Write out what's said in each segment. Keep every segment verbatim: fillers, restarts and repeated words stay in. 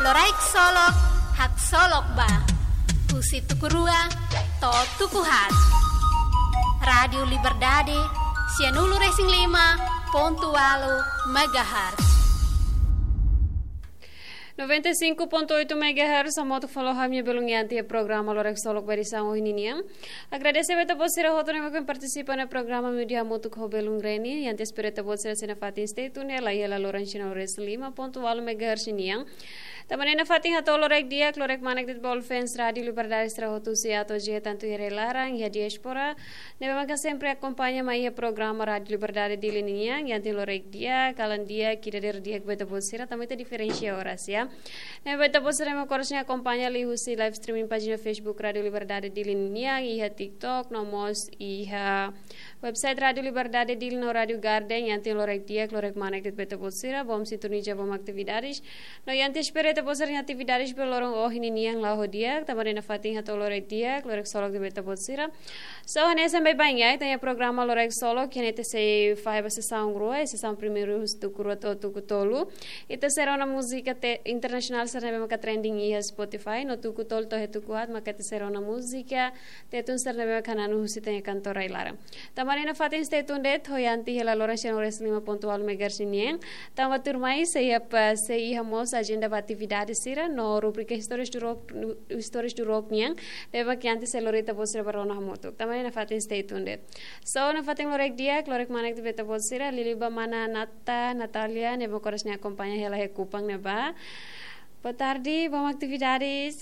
Loraik Solok, haksolok ba. Husi tuku rua to'o tuku haat. Rádiu Liberdade, sianulu-resin-lima pontu ualu megahertz. Noventa e cinco ponto oito megahertz, hamutuk fó ha'u-nia belun iha programa Loraik Solok ba edisaun ohin nian. Agradese ba ita-boot sira hotu ne'ebé partisipa iha programa, meiudia hamutuk ho belun Reni, i ita espera ita-boot sira sei nafatin stay tune hela iha loron sianulu-resin-lima pontu ualu megahertz nian. Tanba ne'e nafatin hato'o loraik di'ak, loraik kmanek de'it ba fans Rádiu Liberdade sira hotu husi atu jeta tantu iha rai-laran, iha diáspora, ne'ebé maka sempre akompaña mai iha programa Rádiu Liberdade Dili nian, iha loraik di'ak, kalan di'ak, ida dadeer di'ak ba ita-boot sira, tanba ita diferensia oras, ya. Ne'ebé ita-boot sira mós konsege akompaña liuhusi live streaming pájina Facebook Rádiu Liberdade Dili nian, iha TikTok, no mós iha website Rádiu Liberdade Dili no Rádiu Garden, iha loraik di'ak, loraik kmanek de'it ba ita-boot sira, bom sintoniza, bom atividades. No iha espera ita-boot sira-nia atividades ba loron ohin nian la'o di'ak, tanba ne'e nafatin hato'o loraik di'ak, loraik solok de'it ba ita-boot sira. So, hanesan baibain ya, ita-nia programa Loraik Solok, iha ne'e ita sei fahe ba sesaun rua, sesaun primeiru husi tuku rua to'o tuku tolu. Ita sei rona múzika te-, internasionál sira ne'ebé maka trending iha Spotify, no tuku tolu to'o tuku haat, maka ita sei rona múzika Tetun sira ne'ebé maka hananu husi ita-nia kantór rai-laran. Tanba ne'e nafatin stay tuned de'it, ho ita iha loron sianulu-resin-lima pontu ualu megahertz nian. Tanba tuirmai sei iha pa, sei iha mós ajenda ba atividade sira, no rubrika Histórias do Rock, Histórias do Rock nian. Ne'ebé maka ita sei lori ita-boot sira ba rona hamutuk. Tanba ne'e nafatin stay tuned de'it. So, nafatin loraik di'ak, loraik kmanek de'it ba ita-boot sira, liuliu ba mana Nata, Natália, ne'ebé maka oras ne'e akompaña hela iha Kupang ne'ebá. Boa tarde, bom atividades.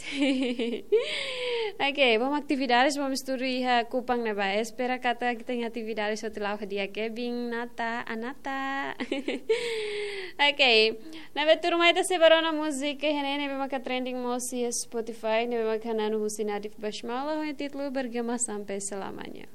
Ok, bom atividades, bom estudu iha Kupang ne'ebá. Espera katak ita-nia atividades hotu la'o di'ak, Kevin, Nata, Anata. Ok, ne'ebé tuirmai ita sei ba rona múzika, iha ne'e ne'ebé maka trending mós iha Spotify, ne'ebé maka hananu husi Nadif Basmala, ho títulu Bergema Sampai Selamanya.